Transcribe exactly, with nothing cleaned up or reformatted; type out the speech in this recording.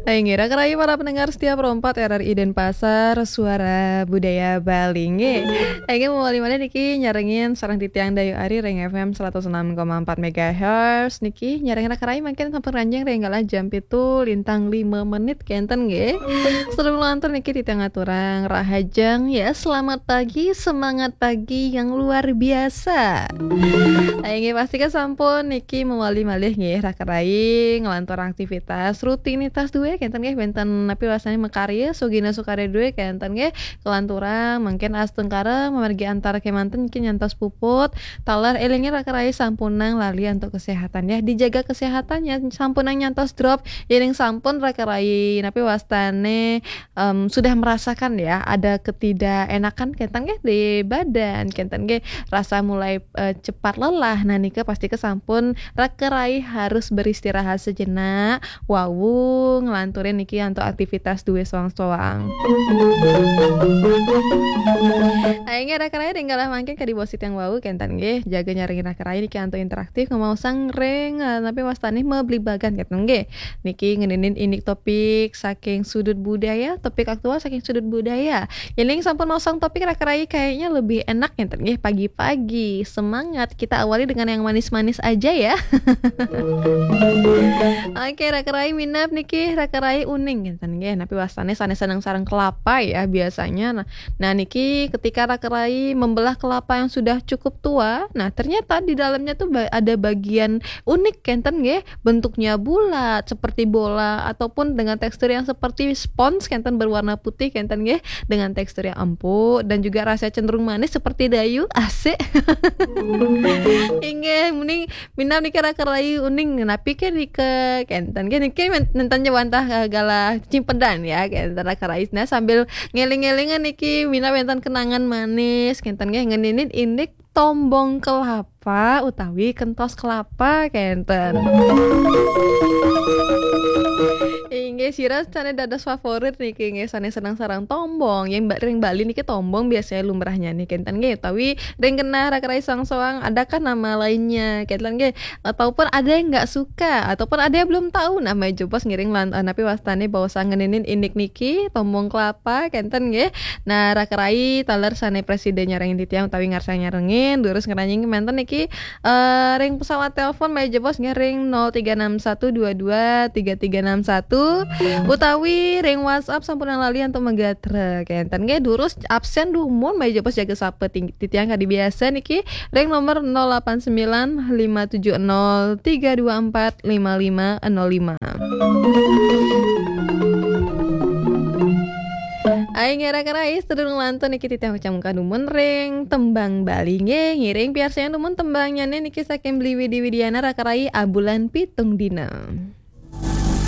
Inggih, raka rayi para pendengar setia Pro empat R R I Denpasar, suara budaya Bali. Inggih. Inggih, mawali malih niki nyarengin sareng titiang Dayu Ari ring F M seratus enam koma empat megahertz niki, nyarengin raka rayi mangkin sampun ranjing ring galah jam pitu lintang lima menit kenten nggih. Sadurung lantur niki titiang aturang rahajeng ya, selamat pagi, semangat pagi yang luar biasa. Inggih, pastika sampun niki mawali malih nggih, raka rayi nglantur aktivitas rutinitas duwe kenten nggih, wenten napi wastane makarya, sugina sukarya duwe kenten nggih, kelanturang mangkin astungkara mamargi antar kemanten niki nyantos puput, taler elinge raka rayi sampunang lali antuk kesehatan ya, dijaga kesehatan ya, sampunang nyantos drop, yening sampun raka rayi napi wastane em, sudah merasakan ya ada ketidakenakan kenten nggih di badan, kenten nggih rasa mulai eh, cepat lelah. Nah nika pastika sampun raka rayi harus beristirahat sejenak, wau nglanturin niki antuk aktivitas duwe soang-soang. Inggih raka rayi ring galah mangkin kadi basa titiang wau kenten nggih, jaga nyarengin raka rayi niki antuk interaktif, ngemaosang ring eh, napi wastane mablibagan kenten nggih. Niki ngeninin indik topik saking sudut budaya, topik aktual saking sudut budaya. Yening sampun maosang topik raka rayi kayaknya lebih enak kenten nggih, pagi-pagi, semangat. Kita awali dengan yang manis-manis aja ya. Oke, raka rayi minab niki raka rayi uning kenten nggih. Napi wastane sane seneng sareng kelapa ya biasanya. Nah, nah niki ketika raka rayi membelah kelapa yang sudah cukup tua, nah ternyata di dalamnya tuh ba- ada bagian unik kenten nggih, bentuknya bulat seperti bola ataupun dengan tekstur yang seperti spons kenten berwarna putih kenten nggih, dengan tekstur yang empuk dan juga rasa cenderung manis seperti dayu, asik. Inggih, mending minab niki raka rayi uning, napi ke nika kenten nggih, niki men- nenten jawantah eh, galah cimpedan ya, kenten raka rayi. Nah, sambil ngeling-ngelingan niki minab wenten kenangan manis kenten nggih, ngeninin indik tombong kelapa utawi kentos kelapa kenten. Inggih, sira sane dados favorit niki nggih, sane seneng sareng tombong. Yang ba- ring Bali niki tombong biasanya lumrahnya nih kenten nggih, utawi ring genah raka rayi soang-soang, adakah nama lainnya kenten nggih, ataupun ada yang nggak suka ataupun ada yang belum tahu nama jebos ngiring lan eh, napi wastane basa ngeninin indik niki tombong kelapa kenten nggih. Nah, raka rayi taler sane presiden nyarengin titiang utawi ngarsang nyarengin, durus ngranjing kemanten niki eh, ring pesawat telepon malih jebos nggih ring nol tiga enam satu dua dua tiga tiga enam satu utawi ring WhatsApp sampun lali antuk magatra kenten nggih, durus absen dumun malih jebos jaga sapa ting- titiang kadi biasa niki ring nomor nol delapan sembilan lima tujuh nol tiga dua empat lima lima nol lima. Ai ngeraka rai sedurung lantur niki titiang ucapkan dumun ring tembang Bali nggih, ngiring piarsayang dumun tembangnyane niki saking Beli Widi Widiana raka rai abulan pitung dina.